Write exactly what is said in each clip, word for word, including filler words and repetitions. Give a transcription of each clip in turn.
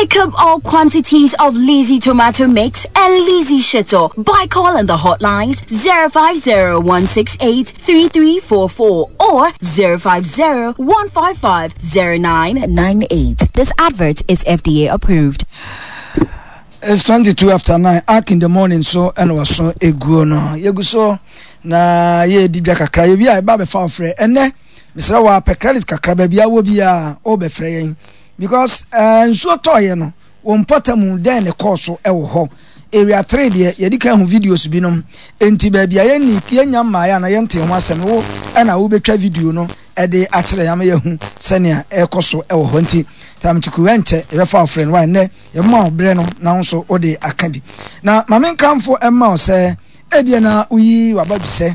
Pick up all quantities of Lizzy tomato mix and Lizzy Shito by calling the hotlines zero five zero one six eight three three four four or zero five zero one five five zero nine nine eight. This advert is F D A approved. It's twenty-two after nine. Ark in the morning, so and was so eguo no. Yegu so na ye di bia kakra. Ye bia e ba be fa ofre. Ene Misra wa pe credit kakra ba bia wo bia o be frɛ yen. Because eh nsuo tɔ ye no, wo mpɔta mu den ne course e wo ho. Area three de ye di kan hu videos bi nom. Enti ba bia ye ni ye nya ma ya na ye nte ho asɛm wo e na wo betwa video no e de akyerɛ ya ma ye hu sɛnea e kɔ so e wo ho. Nti tam tuku ente e be fa ofre no wa ne ye ma obre no na nso wo de aka bi. Na ma men kamfo e ma wo sɛ e bia na uyi wabadwise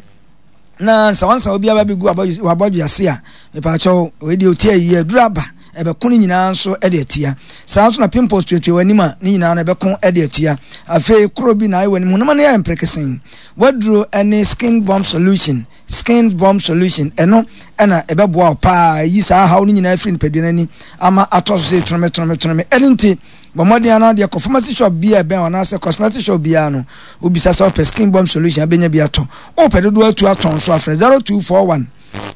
na nsawansa obi aba begu wabadwase a me pa cho we de otie yi aduraba ebe ko ni nyina nso e de atia. Saa nso na pimples tuetue wani ma ni nyina na ebe ko e de atia. Afei kro bi na ayi wani mu no ma na ya mprekesen. Waduro ene skin bomb solution, skin bomb solution eno ena ebe boa pa yi saa hawo ni nyina afiri nipadua nani ama atɔ so se tonome tonome tonome. Enti bomodi ana de ko pharmacy shop bia ben ona se cosmetic shop bia no obisa se ope skin bomb solution abenya bia to. O pe dodo atu aton so afre zero two four one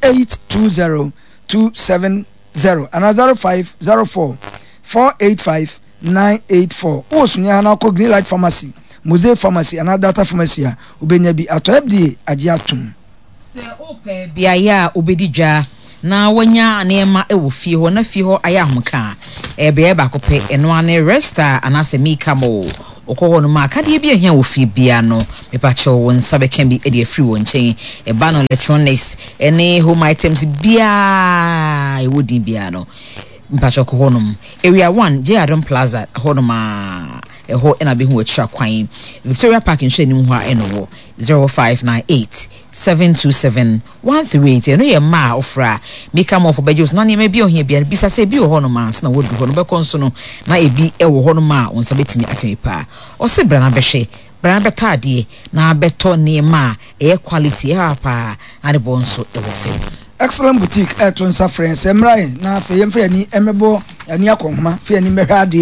eight two zero two seven zero and zero five zero four four eight five nine eight four. O sunya na ko Green Light Pharmacy, Mose Pharmacy and Data Pharmacy a obenya bi ato F D A agye atom. Se ope bia ya obedi dwa na wanya neema ewo fie ho na fie ho aya ahomka e be ba ko pe eno ane resta anase mika mo okɔ ho no ma akade bi ehia wo fie bia no mepa kyɛw wo nsa bɛka bi e de afiri wo nkyɛn e ba no electronics ene home items bia e wodin bia no mpa kyɛw kɔ ho no area one J Adam Plaza ho no ma e ho ena be hu akira kwan Victoria Park nhwe anim ho a eno wo zero five nine eight seven two seven one three eight eno ye ma ofra mika mo fo bejos na ne ma bi ohia bia bisa se bi ho no ma na wodu ho no be konso no na ebi e wo ho no ma won sa betimi aka pa o se bra na behwe bra na betade na beto ne ma e quality e ha pa na de bonso e wo fem. Excellent Boutique eto nsa friends emrai na fe yemfe ani emebo ani akonhoma fe ani mehwe ade